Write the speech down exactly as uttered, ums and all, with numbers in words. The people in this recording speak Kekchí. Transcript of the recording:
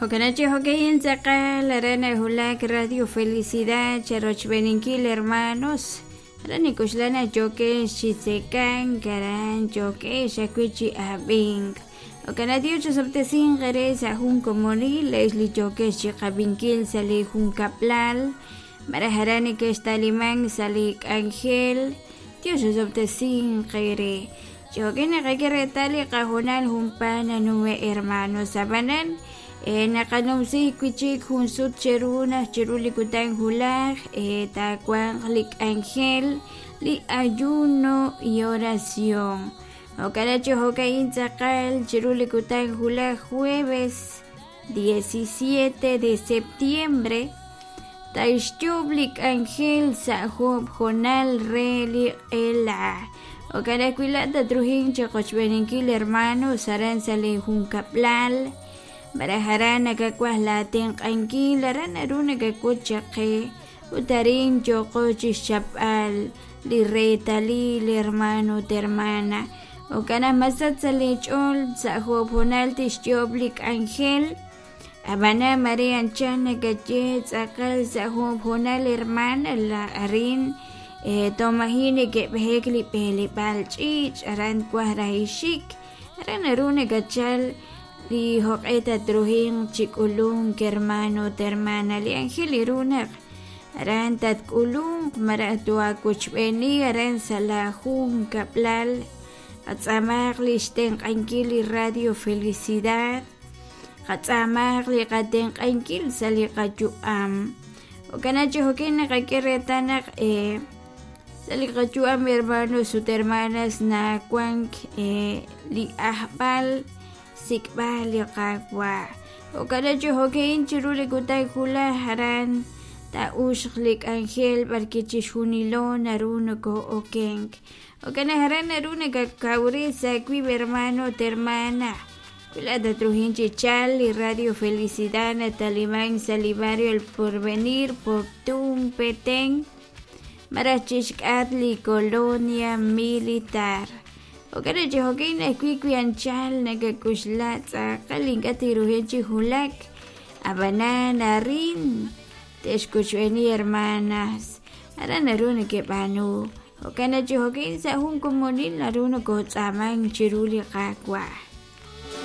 Jo'kan hokeyin tz'aqal aran hulak Radio Felicidad charochb'eninkil hermanos aran nik'uxlana yokex chi tzekank aran yokex ajwi' chi ab'ink jo'kan Dios chosob'tesinq re sa' jun komonil lex li yokex chi qab'inkil sa' li junkaplal maraj aran nekextaliman sa' li k'anjel Dios chosob'tesinq re yoke naqak'e reetal li qajunal junpa nanume' hermanos ab'anan naqanumsi wichik jun sut cheru naq cheru li kutan hulaj taawanq li k'anjel li ayuno y oración jo'kan chi jo'ka'in tz'aqal cheru li kutan hulaj jueves diecisiete de septiembre taixyub' li k'anjel sa' job' jonal re li q'ela jo'kan ajwi' la' tatruhin chiqochb'eninkil hermanos aran sa' li junkaplal maraj aran nakawaj la tenq'ankil aran naru nakak'ut chaqe ut arin yoqo chixchapb'al li reetalil hermano ut hermana jo'kan naq masat sa' li ch'ool sa' job' jonal tixyoob' li k'anjel ab'anan mare anchal nakaye tz'aqal sa' job' jonal hermana la arin tomaji neke'b'ejek li b'eleb'aal ch'iich' aran kwaj rajixik aran naru nakachal li joq'e tatruhin chik'ulunk hermano ut hermana li ángel irunaq aran tatk'ulunk maraj tuakuchb'eni aran sa' la junkaplal qatz'amaq li xtenq'ankil li Radio Felicidad qatz'amaq li qatenq'ankil sa' li qayu'am jo'kan chi jo'kin naqak'e reetal naq eh, sa' li qayu'am hermanos ut hermanas nawank eh, li ajb'al sik'b'al li qawa jo'kan chi jo'kin chiru li kutan hulaj aran ta'uxq li k'anjel b'arki chixjunilo naru noko'okenk jo'kan aran naru nakakawri sa' wib' hermano ut hermana wila tatruhin chi chal li Radio Felicidad nataliman sa' li barrio El Porvenir Poptún Petén maraj chixk'at li Colonia Militar jo'kan chi jo'kin ajwi' wi anchal nakak'uxla tz'aqal ink'a' tiruhin chi hulak ab'anan arin texkuchb'eni hermanas aran naru nakeb'aanu jo'kan chi jo'kin sa' jun komonil naru nokotz'aman chiru li qawa.